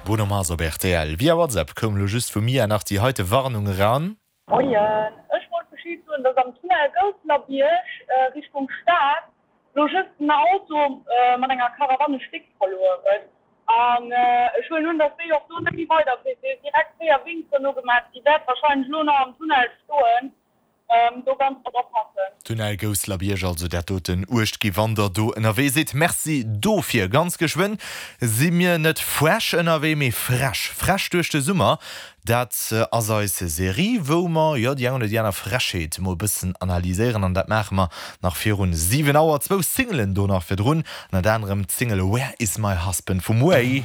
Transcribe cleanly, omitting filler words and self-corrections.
Bruno Mars op rtl. Via WhatsApp koum lo just vu Mia nach déi heite Warnung eran. Moien, ech wollt Bescheed soen, dass am Tunnel Gousselerbierg Richtung Stad lo just en Auto mat enger Caravane e Stéck verluer huet. An ech huelen un, dass déi och do net méi weiderfiert. Déi huet direkt 4 Winks dono gemaach. Déi wäert wahrscheinlech lo nach am Tunnel stoen. Do ganz drop oppassen. Tunnel Gousselerbierg, also dat doten uecht gi wann der do ënnerwee sidd. Merci dofir. Ganz geschwënn si mir net fresh ënnerwee, mee frech. Frech duerch de Summer, dat ass eis Serie wou mer jo déi eng oder déi aner Frechheet mol bëssen analyséieren an dat maache mer nach virun 7 Auer. Zwou Singelen do nach virdrun, ënnert anerem d'Single Where is my husband vum Way.